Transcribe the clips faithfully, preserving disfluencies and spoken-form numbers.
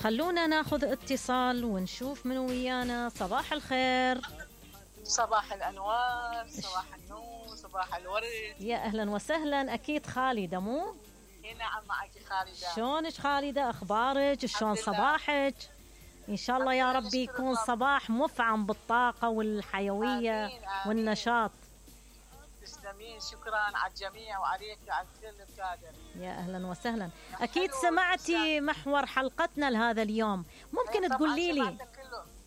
خلونا ناخذ اتصال ونشوف من ويانا. صباح الخير. صباح الأنوار، صباح النور، صباح الورد. يا أهلا وسهلا. أكيد خالدة مو؟ نعم معك خالدة. شلونك خالدة؟ أخبارك؟ شلون صباحك؟ إن شاء الله يا ربي يكون صباح مفعم بالطاقة والحيوية آمين آمين. والنشاط. تسلمين، شكرا على الجميع وعليك وعلى كل القادر. يا أهلا وسهلا. أكيد سمعتي محور حلقتنا لهذا اليوم، ممكن تقولي لي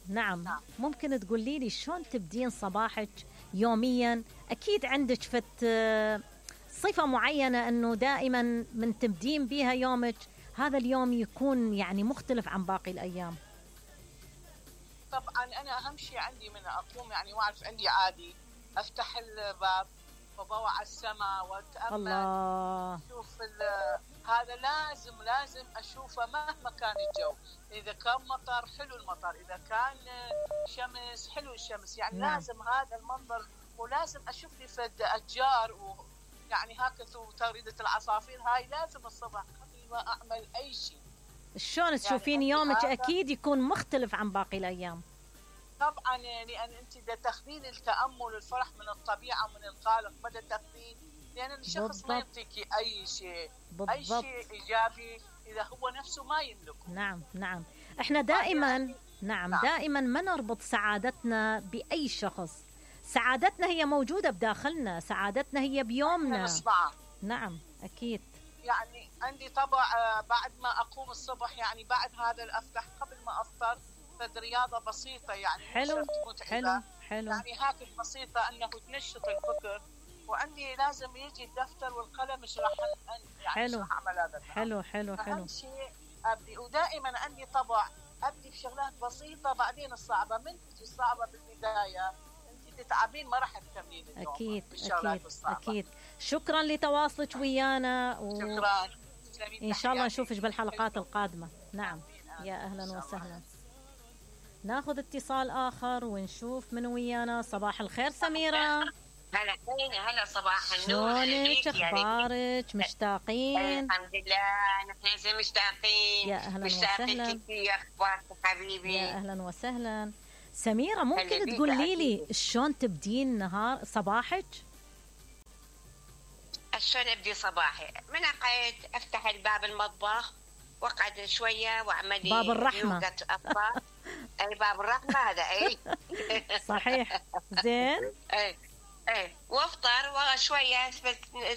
نعم. نعم ممكن تقولي لي شلون تبدين صباحك يوميا؟ أكيد عندك فت صفة معينة أنه دائما من تبدين بها يومك هذا اليوم يكون يعني مختلف عن باقي الأيام. طبعا أنا أهم شيء عندي من أقوم يعني واعرف عندي عادي أفتح الباب وبوع على السماء وأتأمل الله. أشوف هذا لازم لازم أشوفه مهما كان الجو. إذا كان مطر حلو المطر، إذا كان شمس حلو الشمس، يعني نعم. لازم هذا المنظر، ولازم أشوف لي فد أشجار ويعني هكذا وتغريدة العصافير. هاي لازم الصبح قبل ما أعمل أي شيء. شلون تشوفين يعني يومك أكيد يكون مختلف عن باقي الأيام؟ طبعا لأن أنت إذا تاخذين التأمل والفرح من الطبيعة ومن الخالق بدأ تاخذين، لأن الشخص ما يعطيك أي شيء بالضبط. أي شيء إيجابي إذا هو نفسه ما يملكه. نعم نعم. إحنا دائما نعم, نعم دائما ما نربط سعادتنا بأي شخص. سعادتنا هي موجودة بداخلنا، سعادتنا هي بيومنا. نعم أكيد. يعني عندي طبع بعد ما أقوم الصبح، يعني بعد هذا الأفتح قبل ما أفطر فد رياضة بسيطة يعني حلو حلو حلو يعني هكذا بسيطة أنه تنشط الفكر. وعندي لازم يجي الدفتر والقلم مش راح يعني حلو راح أعمل هذا. حلو حلو حلو. أهم شيء أبدي، ودائما عندي طبع أبدي بشغلات بسيطة بعدين الصعبة. من تجي الصعبة بالبداية أنت تتعبين ما راح تكملين اليوم. أكيد أكيد أكيد. شكرا لتواصلك ويانا و... شكرا. إن شاء الله نشوفك بالحلقات القادمة. نعم يا أهلا وسهلا. ناخذ اتصال آخر ونشوف من ويانا. صباح الخير سميرة. هلا هلا صباح النور. شلونك؟ اخبارك؟ مشتاقين؟ الحمد لله نحن مشتاقين. يا اهلا مشتاقين وسهلا. كثير. اخبارك حبيبي؟ يا اهلا وسهلا. سميرة ممكن تقولي لي شلون تبدين نهار صباحك؟ شلون ابدي صباحي؟ من اقعد افتح الباب المطبخ واقعد شويه واعمل باب الرحمة. اي باب الرحمة هذا. اي صحيح. زين. اي ايه وافطر وشويه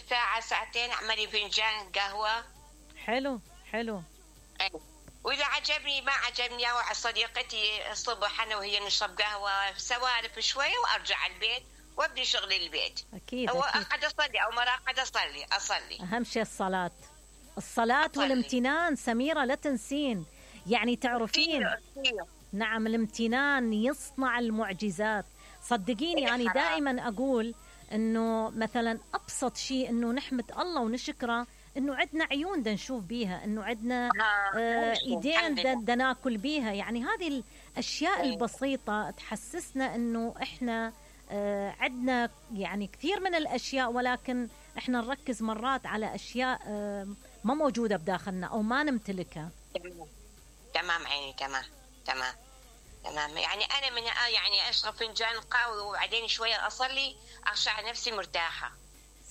ساعه ساعتين اعملي فنجان قهوه. حلو حلو. ايه واذا عجبني ما عجبني او صديقتي الصبح انا وهي نشرب قهوه سوالف شويه وارجع البيت وابدي شغل البيت. اكيد او أكيد. اقعد اصلي او مرة اقعد اصلي اصلي اهم شيء الصلاه. الصلاه أصلي. والامتنان سميره لا تنسين، يعني تعرفين كثير. نعم الامتنان يصنع المعجزات. صدقيني أنا دائما أقول أنه مثلا أبسط شيء أنه نحمد الله ونشكره أنه عندنا عيون دا نشوف بيها، أنه عندنا آه إيدين دا, دا ناكل بيها. يعني هذه الأشياء البسيطة تحسسنا أنه إحنا آه عندنا يعني كثير من الأشياء، ولكن إحنا نركز مرات على أشياء آه ما موجودة بداخلنا أو ما نمتلكها. تمام عيني. تمام تمام تمام. يعني أنا من يعني أشرب فنجان قهوة وبعدين شوية أصلي أخشع نفسي مرتاحة.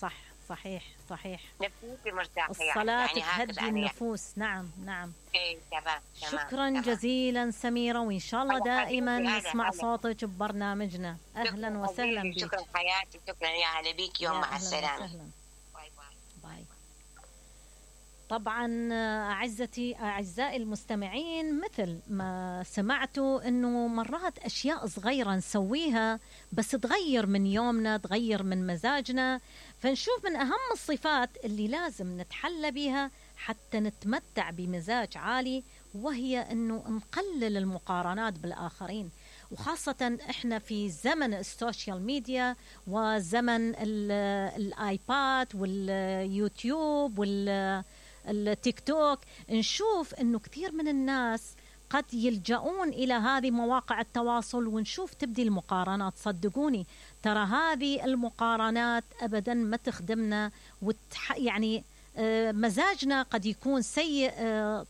صح صحيح صحيح. نفسيتي مرتاحة. الصلاة يعني تهدي النفوس. نعم نعم. إيه تمام. شكرا تمام. جزيلا سميرة، وإن شاء الله دائما نسمع صوتك ببرنامجنا. أهلا وسهلا بك. شكرا حياتي. شكرا يا هلا بيك. يوم مع السلامة. باي باي. باي. طبعا أعزتي أعزائي المستمعين، مثل ما سمعتوا أنه مرات أشياء صغيرة نسويها بس تغير من يومنا، تغير من مزاجنا. فنشوف من أهم الصفات اللي لازم نتحلى بها حتى نتمتع بمزاج عالي، وهي أنه نقلل المقارنات بالآخرين، وخاصة إحنا في زمن السوشيال ميديا وزمن الآيباد واليوتيوب وال التيك توك. نشوف أنه كثير من الناس قد يلجؤون إلى هذه مواقع التواصل، ونشوف تبدي المقارنات. صدقوني ترى هذه المقارنات أبدا ما تخدمنا، وتح يعني مزاجنا قد يكون سيء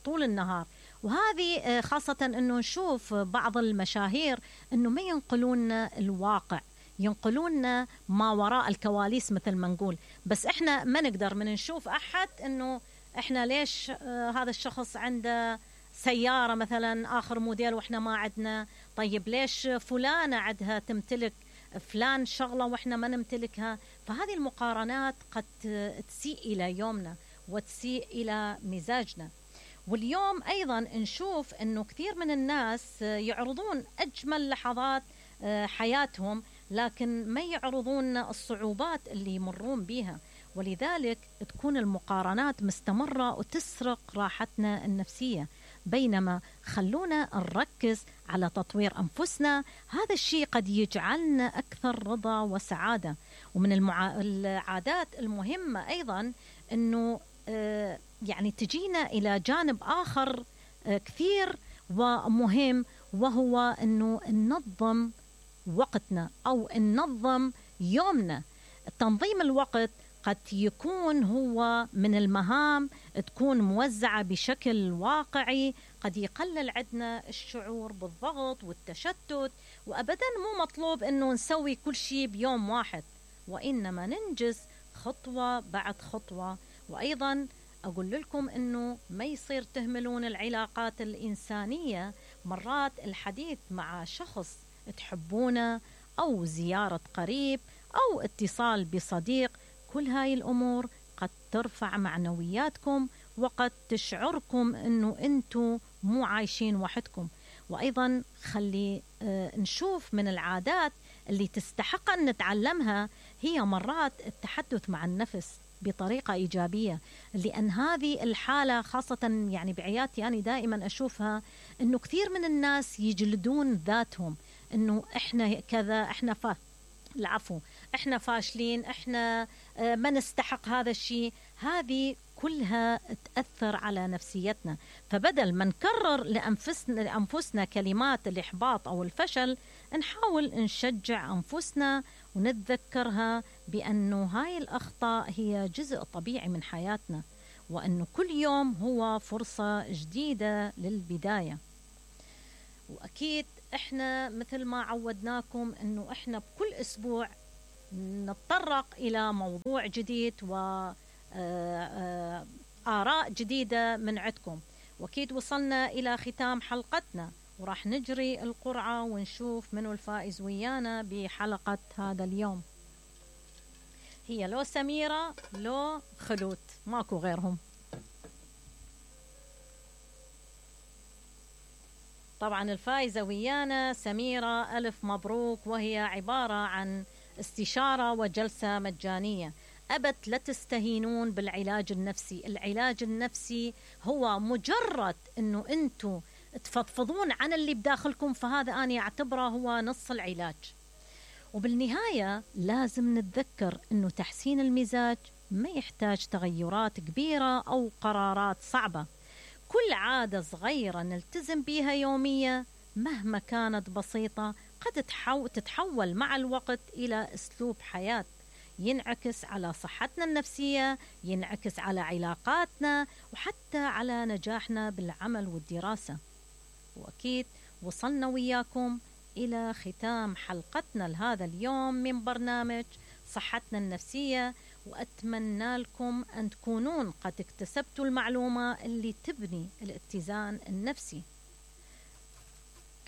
طول النهار. وهذه خاصة أنه نشوف بعض المشاهير أنه ما ينقلون الواقع، ينقلون ما وراء الكواليس مثل ما نقول. بس إحنا ما نقدر من نشوف أحد أنه إحنا ليش هذا الشخص عنده سيارة مثلا آخر موديل وإحنا ما عندنا، طيب ليش فلانة عندها تمتلك فلان شغلة وإحنا ما نمتلكها. فهذه المقارنات قد تسيء إلى يومنا وتسيء إلى مزاجنا. واليوم أيضا نشوف أنه كثير من الناس يعرضون أجمل لحظات حياتهم، لكن ما يعرضون الصعوبات اللي يمرون بها، ولذلك تكون المقارنات مستمرة وتسرق راحتنا النفسية. بينما خلونا نركز على تطوير أنفسنا، هذا الشيء قد يجعلنا أكثر رضا وسعادة. ومن المع... العادات المهمة أيضا أنه آه يعني تجينا إلى جانب آخر آه كثير ومهم، وهو أنه ننظم وقتنا أو ننظم يومنا. تنظيم الوقت قد يكون هو من المهام تكون موزعة بشكل واقعي، قد يقلل عندنا الشعور بالضغط والتشتت. وأبدا مو مطلوب أنه نسوي كل شيء بيوم واحد، وإنما ننجز خطوة بعد خطوة. وأيضا أقول لكم أنه ما يصير تهملون العلاقات الإنسانية. مرات الحديث مع شخص تحبونه أو زيارة قريب أو اتصال بصديق، كل هاي الأمور قد ترفع معنوياتكم وقد تشعركم أنه أنتم مو عايشين وحدكم. وأيضا خلي آه نشوف من العادات اللي تستحق أن نتعلمها هي مرات التحدث مع النفس بطريقة إيجابية، لأن هذه الحالة خاصة يعني بعياتي أنا دائما أشوفها أنه كثير من الناس يجلدون ذاتهم، أنه إحنا كذا، إحنا فا العفو إحنا فاشلين، إحنا ما نستحق هذا الشيء. هذه كلها تأثر على نفسيتنا. فبدل ما نكرر لأنفسنا, لأنفسنا كلمات الإحباط أو الفشل، نحاول نشجع أنفسنا ونتذكرها بأنه هاي الأخطاء هي جزء طبيعي من حياتنا، وأنه كل يوم هو فرصة جديدة للبداية. وأكيد إحنا مثل ما عودناكم أنه إحنا بكل أسبوع نتطرق إلى موضوع جديد وآراء جديدة من عندكم. وأكيد وصلنا إلى ختام حلقتنا، وراح نجري القرعة ونشوف منو الفائز ويانا بحلقة هذا اليوم. هي لو سميرة لو خلود، ماكو غيرهم. طبعا الفائزة ويانا سميرة، ألف مبروك، وهي عبارة عن استشارة وجلسة مجانية. أبت لا تستهينون بالعلاج النفسي. العلاج النفسي هو مجرد أنه أنتم تفضفضون عن اللي بداخلكم، فهذا أنا أعتبره هو نص العلاج. وبالنهاية لازم نتذكر أنه تحسين المزاج ما يحتاج تغيرات كبيرة أو قرارات صعبة. كل عادة صغيرة نلتزم بها يوميا مهما كانت بسيطة قد تتحول مع الوقت إلى أسلوب حياة ينعكس على صحتنا النفسية، ينعكس على علاقاتنا، وحتى على نجاحنا بالعمل والدراسة. وأكيد وصلنا وياكم إلى ختام حلقتنا لهذا اليوم من برنامج صحتنا النفسية، وأتمنى لكم أن تكونون قد اكتسبتوا المعلومة اللي تبني الاتزان النفسي.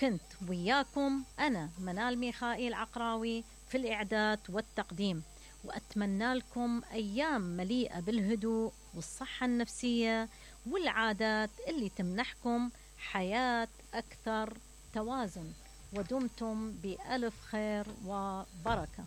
كنت وياكم أنا منال ميخائيل عقراوي في الإعداد والتقديم، وأتمنى لكم أيام مليئة بالهدوء والصحة النفسية والعادات اللي تمنحكم حياة أكثر توازن. ودمتم بألف خير وبركة.